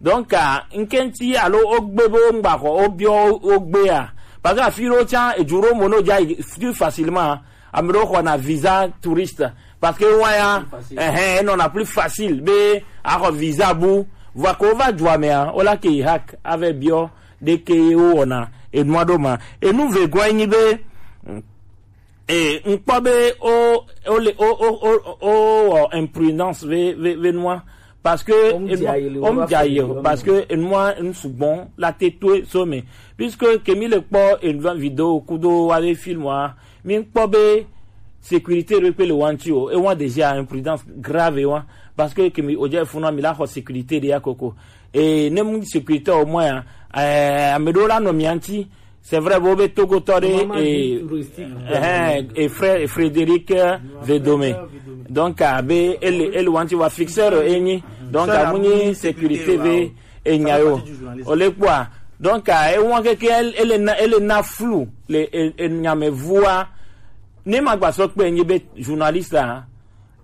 Donc, ah, ŋkɛntsi alo o gbe be o ŋgba xɔ, o biɔ o gbe ya. Parce que afi ɖo tsã, edu ɖo mo no dza yi plus facilement. Ame ɖewo xɔna visa touriste. Parce que wa ya, plus facile. Ɛhɛn, enɔna plus facile be axɔ visa bu. Vɔa ko va dua mea, o la ke yi hack ave biɔ ɖeke ye wo wɔna enua ɖo ma. Enu vegɔe nyi be, e, ŋkpɔ be o, o le, o, o, o, o, o, imprudence ve, ve, ve nua. Parce que o mu dze ayi le, o mu dze ayi o, parce que enua, nu sugbɔ la te to so me. Puisque ke mi le kpɔ enua vidéo kudo wa le film wa, mi kpɔ be sécurité ɖe kpe le wa ŋuti o, e wa déjà imprudence grave wa. Parce que ke mi o dze funu mi la xɔ sécurité ɖe ya koko. E ne mu sécurité o mɔ ya, eh, ame ɖewo la nɔ mia ŋuti, C'est vrai, bo be Togo tɔ ɖe, e, eh, e frère Frédéric, eh, Vedome. Donc, a be ele, ele wanti wa fixeur enyi. Donc, a mu nyi sécurité ve enya yo. O le kpɔa. Donc, a e wan keke ele, ele na, ele na flou le, e, e nya me vua. Ne ma gba sɔ kpe enyi be journaliste la,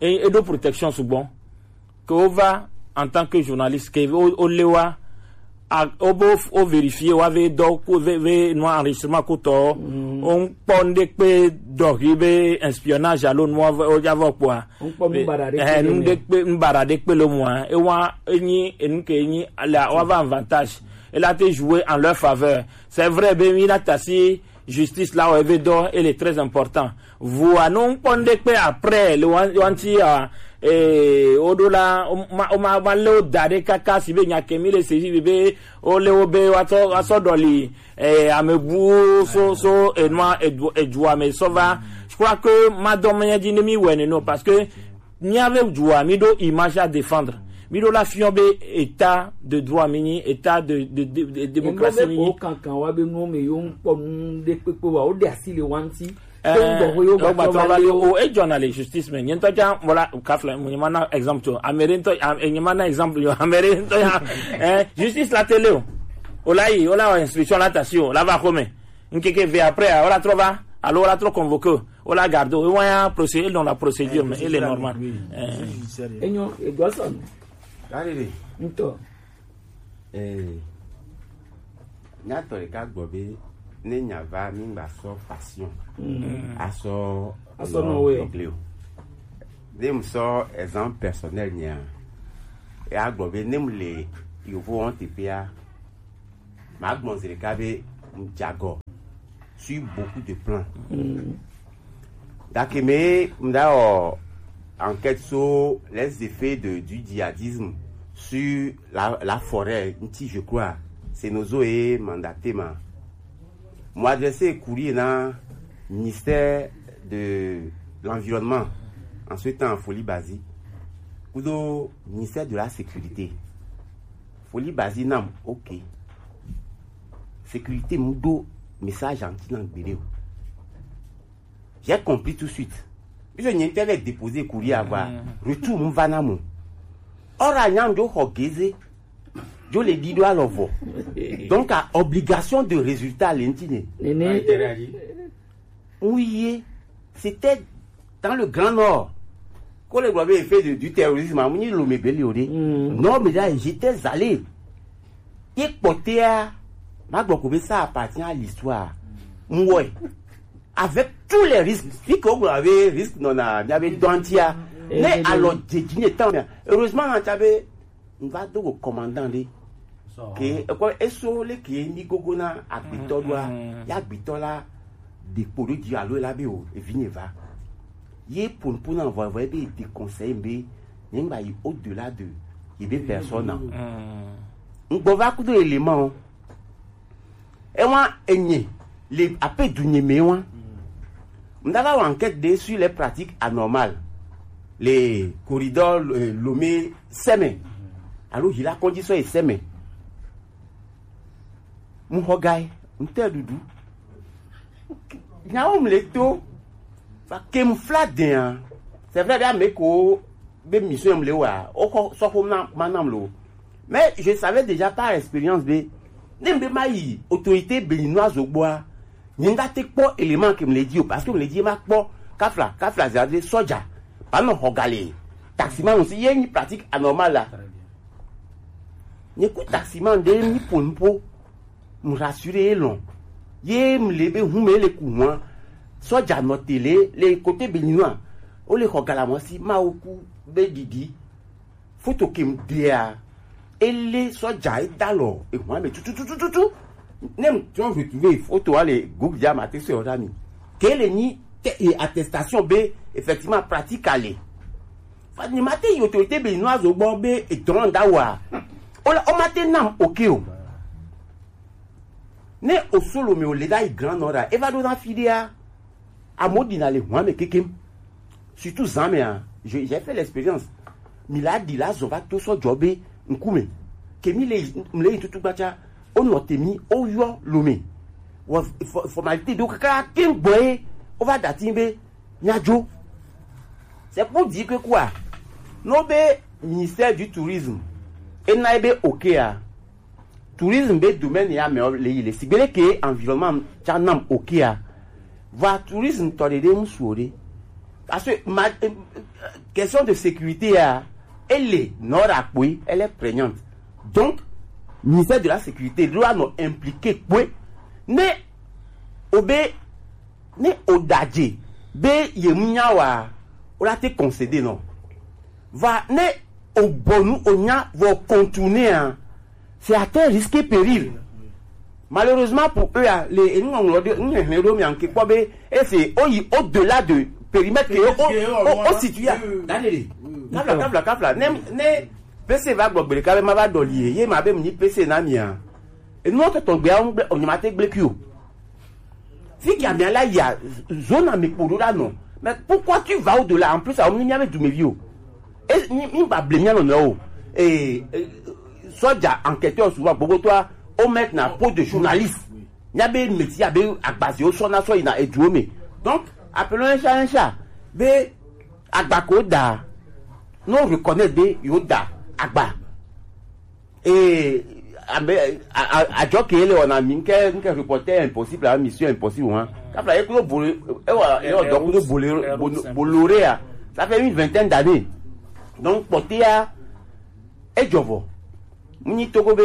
e, e ɖo protection sugbɔ. Ke wova en tant que journaliste, ke wo, wo le wa, a, wo be wo, wo vérifier wa ve dɔ ku ve, ve nua enregistrement ku tɔ. Mm. Wo ŋkpɔ ŋɖe kpe dɔ hi be espionnage alo nua ve, wo ja vɔ kpɔa. Ŋkpɔ nu baɖa ɖe eh, kpe nu ɖe kpe, nu baɖa ɖe kpe le mua. E wa, enyi, enu ke enyi, la, wa va avantage. E la te jouer en leur faveur. C'est vrai, be mi la tasi justice la wɔ eve dɔ, ele très important. Vua no ŋkpɔ ŋɖe kpe après le wan, wanti a, eh, o ɖo la, o ma, o ma, ma le o da ɖe kaka si be nya ke mi le sezi be, be, o le o be wa sɔ, wa sɔ ɖɔli, eh, ame bu so, so, enua, edu, edua me sɔ va. Je crois que ma dɔ me nya dzi ne mi wɛ ne no, parce que Mía be dua, mí ɖo image à défendre. Mí ɖo la fiɔ be état de droit mí nyi, état de, de, de, de démocratie mí nyi. Ko kankan wa be nuwo me yo ŋkpɔ nu ɖe kpekpe wa, wo ɖe asi le wa ŋuti. Eh, ko ŋgbɔ ko yo gba trɔ va le o, e jɔna le justice me. Nye ŋutɔ ja, voilà, kafle, mo nyema na exemple to. Amere ŋutɔ, am-, e nyema na exemple yo. Amere ŋutɔ ya, eh, justice la tele o. O la yi, o la wa instruction la tasi o, la va xome. Ŋkeke ve après, o la trɔ va, alo o la trɔ convoqué o. Wo la garde wo, e wa ya procé-, e nɔ la procédure me, e le normal. Eh. Enyo, e doit ça. Allez. Ŋutɔ. Eh. Nyatɔ ɖeka gblɔ be ne nya va mi ŋgba sɔ passion. Mm. Asɔ asɔ nɔ we o. Ne mu sɔ exemple personnel nya. E a gblɔ be ne mu le yovo wɔn teƒea, ma gblɔ zi ɖeka be ŋdze agɔ sur beaucoup de plans. Mm. Gake me ŋda wɔ enquête sur les effets de, du djihadisme sur la, la forêt ŋuti, je crois. C'est Nozo et mandaté ma. Mo adressé courrier na ministère de l'environnement en ce temps Foli Bazi. Kudo ministère de la sécurité. Foli Bazi nam, ok. Sécurité mu ɖo message anti na gbeɖe o. J'ai compris tout de suite. Puisque nyɛ ŋutɔ va déposer courrier avoir. Mm. Retour mu va na mo. Ora nyam jo xɔ geze. Jo le ɖi ɖo alɔ vɔ. Donc, a obligation de résultat le ŋuti ne. Nene. Oui, c'était dans le Grand Nord. Ko le gblɔ be effet de, du terrorisme, amu nyi Lomé be li o ɖe. Mm. Non, mais là, j'étais allé. Ye kpɔtɛa, ma gblɔ ko be ça appartient à l'histoire. Mu wɔe. Avec tous les risques, fi ke wogblɔ be risque nɔna mía be dɔntia. Ne alɔ dze dzi ne tan mia. Heureusement, na tsa be ŋva do go commandant ɖe. Ke ekɔ eso le ke mi gogo na agbetɔ ɖoa, ya agbetɔ la ɖe kpo ɖo dzi alo la be o, evi nye va. Ye ponpo na vɔ vɔ ebe de conseil be, ne ŋgba yi au-delà de ye be personne. Ŋgbɔ va kudo élément o. Ewa enye le ape dunye me wa. Ŋda va wɔ enquête de sur les pratiques anormales. Le corridor, euh, Lomé sɛmɛ. Alo hila kɔndzi sɔ ye sɛmɛ. Mu xɔ gai, ŋtɛ ɖuɖu. Nyawo mle to. Fa ke mu fla dɛn a. C'est vrai, be ame ko be mission mle wa. O xɔ sɔ xo na, ma nam lo. Mais je savais déjà par expérience be, ne mbe ma yi autorité béninoise gbɔa, nye ŋda te kpɔ élément ke mle dzi o, parce que mle dzi ma kpɔ kafla, kafla zade sɔdza, ba nɔ xɔ gale, taximan aussi, ye nyi pratique anormale la. Nye ku taximan ɖe mi po nupo, mu rassurer ye lɔn. Ye mle be hume le ku hua, sɔdza nɔ tele, le côté béninois, o le xɔ gala mɔ si ma o ku be ɖiɖi. Foto ke mu dea, ele sɔdza e da lɔ, e hua me tututututu. Ne mu tɔn retrouver foto ale Google dia ma te se o da mi. Ke le nyi te, e attestation be, effectivement, pratique ale. Fa ni ma te yi autorité béninoise gbɔ be e dɔn da wa. O la, o ma te nam, ok o. Ne o solo me o le da yi Grand Nord a, e va ɖo na fi ɖea. Amewo ɖina le hua me kekem. Surtout zã mea, je, j'ai fait l'expérience. Mi la ɖi la zɔ va to sɔ dzɔ be ŋkume. Ke mi le, mi le yi tutu gbatsa, o nɔ te mi, o yɔ Lomé. Wɔ fo- formalité ɖo kaka keŋ gbɔ ye wova ɖati be míadzo. C'est pour dire que quoi, no be ministère du tourisme ena ye be okea, tourisme be domaine ya me le yi le sigbe leke environnement tsa nam okea, va tourisme tɔ ɖeɖe ŋsu o ɖe. Parce que ma, euh, question de sécurité ya, elle est non rapouée, elle est prégnante. Donc, ministère de la sécurité doit nous impliquer kpoe. Ne obe ne o dadze be ye ŋu nya wa, o la te concéder non. Va ne o bɔnu o nya vɔ contourner a, c'est à tes risques et périls. Malheureusement pour eux a, le enu ŋlɔ de ŋlɔ hlɛ ɖo mia ŋke kpɔ be ese o yi au-delà de périmètre ke o o o situe a. Daniel, kafla kafla kafla ne ne P C va gbɔ gbe ɖeka be ma va ɖɔli ye ye ma be mu nyi P C na mia. Enu tɔtɔ gbea ŋgbe o nyama te gble kui o. Fi ke amia la ya zone ame kpo ɖo la nɔ. Mais pourquoi tu vas au-delà? En plus, awo mi miabe dumevi o. E mi mi ba ble mia nɔ nɔ o. Eh, eh, soja enquêteur souvent gbogbo toa o mettre na peau de journaliste. Miabe métier abe agbaze o sɔ na sɔ yina eduo me. Donc, appelons un chat un chat. Be agba ko da. No reconnaître be yo da agba. Ee, ame a- a- adzɔ ke le wɔna mi nke nke reporter impossible a mission impossible wa kafla ye kudo bolo ewa ye ɔdɔ kudo bolo bolore a, ça fait une vingtaine d'années. Donc kpɔtea edzɔ vɔ. Mu nyi togo be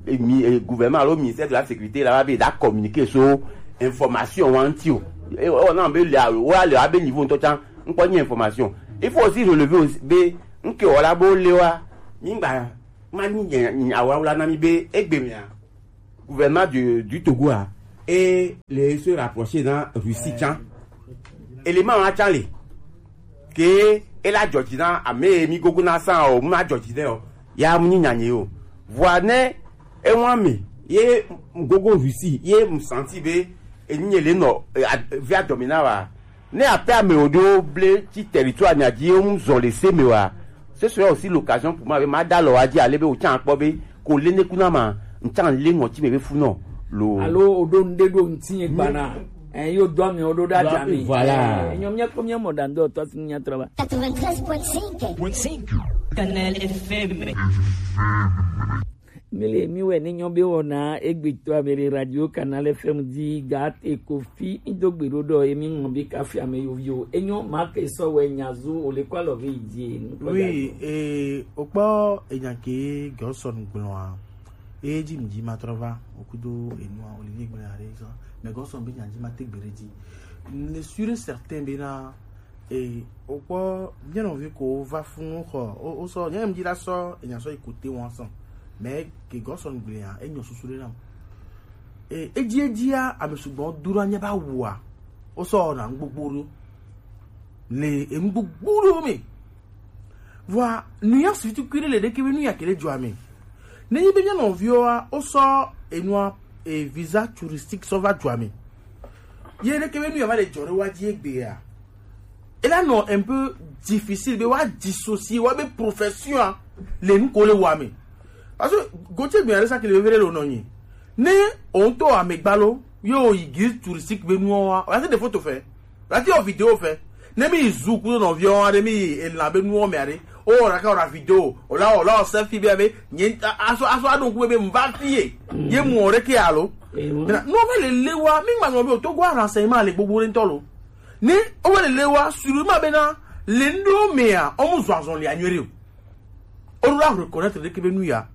eh, mi- eh, gouvernement alo ministère de la sécurité la va be da communiquer so information wa ŋuti o. Ewa na be le awo le abe niveau ŋutɔ tsa ŋkpɔ nyi information. Il faut aussi relever aussi be nke wɔ la bo le wa mi gba ma nyi nya- nya- awawla na mi be egbe mea gouvernement du, du Togo a e le se rapprocher na Russie tsa. Élément wa tsa le ke e la dzɔdzi na ame mi gogo na sa o ma dzɔdzi de o ya mu nyi nyanye o. Vɔa ne e wa me ye gogo Russie ye mu santi be enyi le nɔ eh, ad- via domina wa. Ne ape ame wo ɖewo ble tsi territoire nya dzi ye ŋu zɔ le se me wa, ce serait aussi l'occasion pour moi be ma da lɔ wa dzi ale be wotsa kpɔ be ko le ne kuna ma ntsa le ŋɔtsi me be fu nɔ lo. Alo o ɖo ŋɖe ɖo ŋti ye gbana. Eh, yo do ame o ɖo ɖa dza me. Voilà. Eh, nyɔ mia kpɔ mia mɔ ɖa ŋdɔ tɔ si nya trɔ ba. Quatre-vingt-treize point cinq. Canal F M. Mi le mi wɛ ne nyɔ be wɔna egbetɔ ame ɖe radio Canal F M di ga te ko fi mi do gbe ɖo ɖɔ emi ŋɔ bi kafi ame yovi o. Enyɔ ma ke sɔ wɛ nya zu o le kɔ alɔ ve yi die. Oui, eh, o kpɔ enya ke Godson gblɔa. E dzi mi dzi ma trɔ va o kudo enua Olivier gblɔ ya ɖe sɔ. Mais Godson be nya dzi ma te gbe ɖe dzi. Ne sûr et certain be na E o kpɔ nye nɔvi ko va funu xɔ o o sɔ nye ŋdi la sɔ enya sɔ yi kote wɔn sɔn mɛ ke gɔsɔn gblea enyɔ susu ɖe nam. E edzi edzia ame sugbɔ dura nye ba wua o sɔ na ŋgbogbo ɖo le eŋgbogbo ɖo me. Vɔa nuya sufi tukui ɖe le ɖeke be nuya ke le dzɔa me. Ne nyi be nye nɔviwoa o sɔ enua e visa touristique sɔ va dzɔa me. Ye ɖeke be nuya va le dzɔ ɖe wa dzi egbea. Ela nɔ un peu difficile be wa dissocier wa be profession a le nu ko le wa me. Parce que Gauthier gbɛn ale sa kele vevere lo nɔ nyi. Ne o ŋutɔ amegbalo ye o yi guide touristique be nuɔ wa, o la te ɖe photo fɛ, o la te yɔ video fɛ. Ne mi yi zu kudo nɔviɔ wa ɖe mi yi elã be nuɔ mea ɖe, o wɔ ɖaka wɔ ɖa video, o la wɔ la wɔ selfie be be nye a- aso aso aɖo ŋku be be n va fi ye, ye mu o ɖe ke alo. Mina nuɔ va le le wa, mi ŋma nɔ be o to gwa renseignement le gbogbo ɖe ŋutɔ lo. Ne o va le le wa, sûrement bena le ŋɖewo mea, o mu zɔ azɔlia nyuie ɖe o. O ɖo la reconnaître ɖeke be nu ya.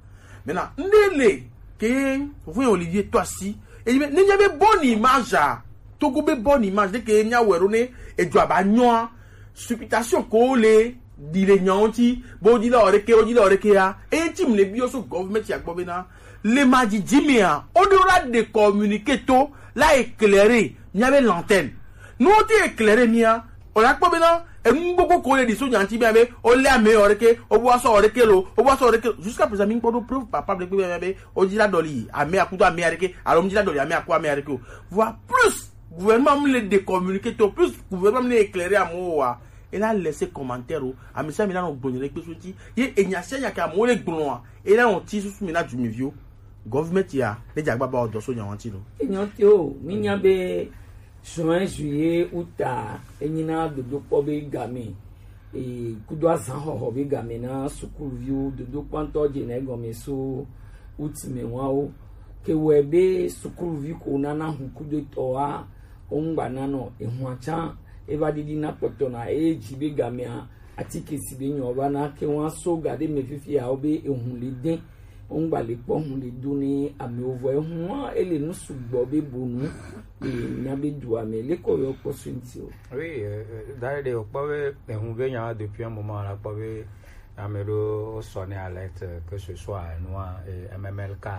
Maintenant, ŋɖe le ke fofo Olivier to asi. Eyi be ne nya be bonne image a, Togo be bonne image ɖeke nya wɛ ɖo ne edzo aba nyɔa. Supputation ko le ɖi le nyawo ŋuti, bo di la o ɖeke, o di la o ɖeke ya. Eye ŋuti mu le bi o so government ya gbɔ bena le ma didi mea, o ɖo la de communiqué to la éclairer mia be l'antenne. Ne o te éclairer mia, o la kpɔ bena enu gbogbo ko le ɖi so nya ŋuti bia be o le ame o ɖeke, o bo asɔ o ɖeke lo, o bo asɔ o ɖeke lo. Jusqu'à présent mi ŋkpɔ ɖo preuve palpable kpe bia be o dzi la ɖɔli ame akudo ame aɖeke alo mi dzi la ɖɔli ame aku ame aɖeke o. Voire plus gouvernement mi le de communiqué to, plus gouvernement mi le éclairer amewo wa, e la laisser commentaire o, ame sia ame la nɔ gblɔ nya ɖe kpe so ŋuti. Ye enya sia nya ke amewo le gblɔa, e la nɔ ti susu mi na dumeviwo. Government ya ne dza gbaba o dɔ so nya wanti lo. Enyo te o, mi nya be juin, juillet, août a, enyi na dodokpɔ be game, e, kudo azan xɔxɔ be game na sukuluviwo, dodokpɔ ŋutɔ dze na egɔme so août me wa wo. Ke wɛ be sukuluvi ko nana hu kudo tɔ wa, wo ŋgba na nɔ, ehua tsa, eva ɖiɖi na kpɔtɔ na, eye dzi be gamea, atike si be nyɔ va na ke wa so ga ɖe me fifi ya wo be ehu le dɛ. Wongba le kpɔ hun le do ne amewo vɔ ehun wa ele nu sugbɔ be bonu le mía be dua me le ko yɔ kpɔ so ŋuti o. Oui, euh, euh, d'ailleurs, de kpɔ be ehun be nya depuis un moment la kpɔ be ame ɖo sɔ ne alerte, que ce soit nua, euh, M M L K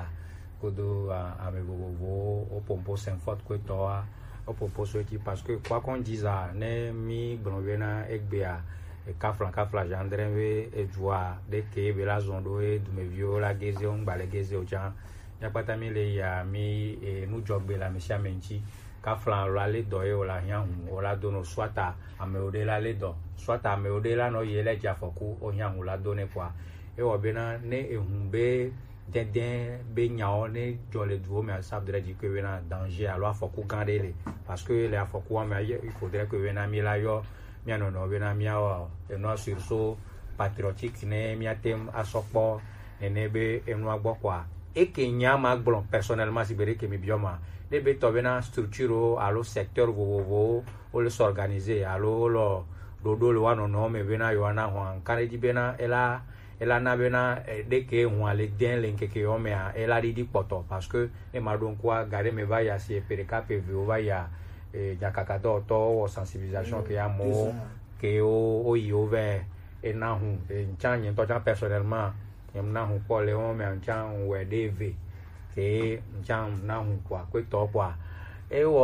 kodo, ah, ame vovovowo, wo pompo Saint-Fort ko tɔ wa, wo pompo so eti parce que quoi qu'on dise, ne mi gblɔ be na egbea, e kafla kafla Jean André be edzua ɖe ke be la zɔn ɖo e dumeviwo la geze wo ŋgba le geze o tsa. Mía kpata mi le ya mi, e, nu dzɔgbe le ame sia ame ŋuti. Kafla lo ale dɔ ye o la hiã hu o la do no soit amewo ɖe la le dɔ, soit amewo ɖe la nɔ ye la dze afɔku o hiã hu la do ne kpɔa. Ewɔ bena ne ehu be dɛdɛ be nyawo ne dzɔ le duwo me, ça voudrait dire que bena danger alo afɔku gã ɖe le, parce que le afɔkua me, il faudrait que bena mi la yɔ mía nɔnɔ bena mía wɔ enua sursaut patriotique ne mía te ŋu asɔ kpɔ nene be enua gbɔ kɔa. Eke nya ma gblɔ personnellement si be ɖe ke mi biɔ ma, ne be tɔ bena structure wo alo secteur vovovowo wo le s'organiser alo wo lɔ ɖoɖo le wa nɔnɔ me bena yewoa na hɔn. Ŋka ɖe dzi bena ela ela na bena, eh, ɖe ke hɔn le dɛn le ŋkeke yɔ mea, ela ɖiɖi kpɔtɔ, parce que ne ma ɖo ŋkua ga ɖe me va ya si epe ɖeka pe viwo va ya, eh, nyakaka dɔwɔtɔwo wɔ sensibilisation ke amewo ke wo wo yi wo vɛ ena hu, eh, ŋtsa nye ŋutɔ tsa personnellement nye na hu kpɔ le wo mea ŋtsa ŋwɛ ɖe ve ke ŋtsa na hu kpɔa kpetɔ kpɔa ewɔ